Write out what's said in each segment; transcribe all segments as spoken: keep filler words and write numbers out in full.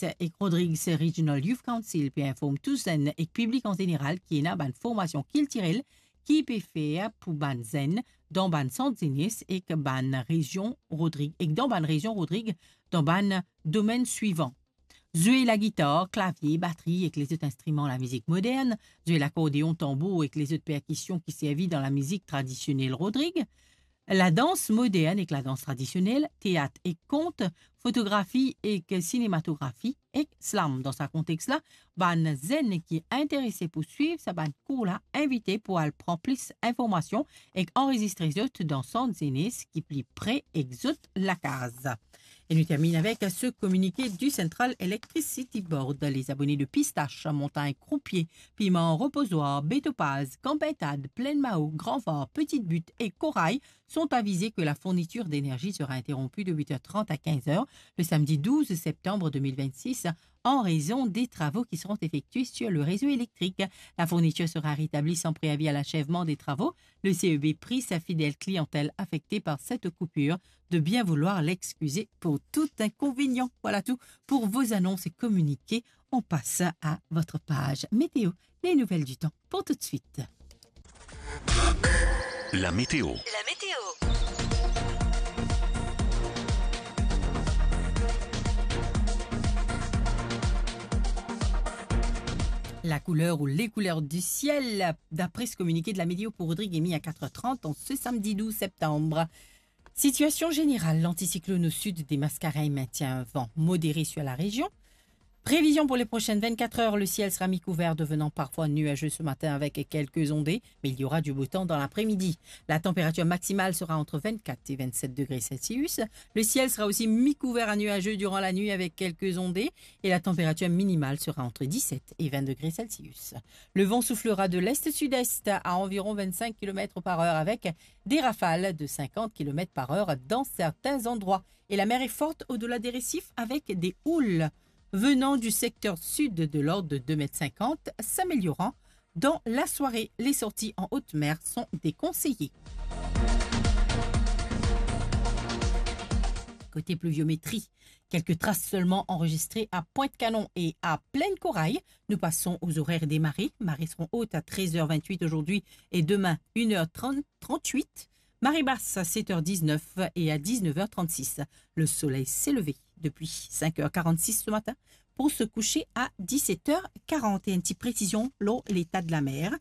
District ek Rodrigues Regional Youth Council pe inform tou zenn ek piblik an zeneral ki ena bann formasion kiltirel ki pe fer pou bann zenn dan bann sant zenes ek bann rezion Rodrig, ek dan bann rezion Rodrig dan bann domenn swivan: zwe lagitar, klavie, batri ek lezot instriman lamizik modern, zwe lakordeon, tanbour ek lezot perkision ki servi dan lamizik tradisionel Rodrig, ladans modern ek ladans tradisionel, teat ek kont, fotografi ek sinematografi ek slam. Dan sa kontex la, bann zenn ki interese pou swiv sa bann kour la invite pou al pran plis informasion ek anrezistre zot dan sant zenes ki pli pre ek zot lakaz. E nou terminn avek se kominike di Central Electricity Board. Les abonnés de Pistache, Montagne Croupier, Piment Reposoir, Bétopaz, Camp Pintade, Plaine Mao, Grand Var, Petite Butte et Corail sont avisés que la fourniture d'énergie sera interrompue de huit heures trente à quinze heures le samedi douze septembre deux mille vingt-six en raison des travaux qui seront effectués sur le réseau électrique. La fourniture sera rétablie sans préavis à l'achèvement des travaux. Le C E B prie sa fidèle clientèle affectée par cette coupure de bien vouloir l'excuser pour tout inconvénient. Voilà tout pour vos annonces et communiqués. On passe à votre page météo, les nouvelles du temps pour tout de suite. La météo. La météo. La couleur ou les couleurs du ciel, d'après ce communiqué de la météo pour Rodrigues émis à quatre heures trente en ce samedi douze septembre. Situation générale, l'anticyclone au sud des Mascareignes maintient un vent modéré sur la région. Prévision pour les prochaines vingt-quatre heures, le ciel sera mi-couvert, devenant parfois nuageux ce matin avec quelques ondées, mais il y aura du beau temps dans l'après-midi. La température maximale sera entre vingt-quatre et vingt-sept degrés Celsius. Le ciel sera aussi mi-couvert à nuageux durant la nuit avec quelques ondées et la température minimale sera entre dix-sept et vingt degrés Celsius. Le vent soufflera de l'est-sud-est à environ vingt-cinq kilomètres par heure avec des rafales de cinquante kilomètres par heure dans certains endroits. Et la mer est forte au-delà des récifs avec des houles venant du secteur sud de l'ordre de deux mètres cinquante, s'améliorant dans la soirée. Les sorties en haute mer sont déconseillées. Côté pluviométrie, quelques traces seulement enregistrées à Pointe-Canon et à Plaine-Corail. Nous passons aux horaires des marées. Marées seront hautes à treize heures vingt-huit aujourd'hui et demain, une heure trente, trente-huit. Marée basse à sept heures dix-neuf et à dix-neuf heures trente-six. Le soleil s'est levé depuis cinq heures quarante-six ce matin pour se coucher à dix-sept heures quarante. Et une petite précision, lor l'état de la mer.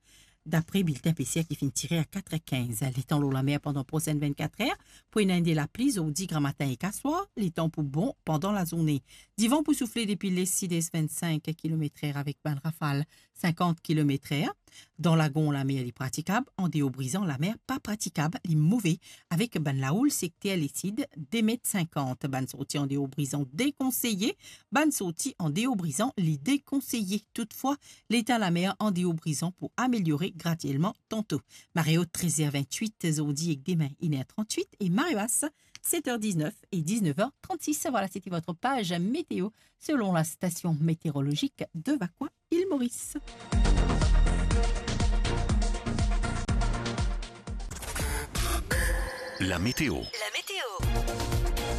D'après le bulletin P C R qui finit tiré à quatre heures quinze, letan lor lamer pandan prosenn vingt-quatre heures, pou ena de lapli zordi gramatin ek aswar, letan pou bon pandan lazourne. Divan pou soufle depi lès-sidès vingt-cinq kilomètres heure avek bann rafal cinquante kilomètres heure. Dan lagon, lamer li pratikab, andeor Brizan, lamer pa pratikab, li move, avek bann laoul sekter lesid de met sinkant. Bann sorti andeor Brizan dekonseye, bann sorti andeor Brizan li dekonseye. Toutfwa, leta lamer andeor Brizan pou ameliore gradielman tanto. Mare ot trez er vintwit zordi ek demin, enn er trantwit, e mare bas set er diznef e diznef er trantsis. Voilà, c'était votre page météo selon la station météorologique de Vacoas, île Maurice. La météo.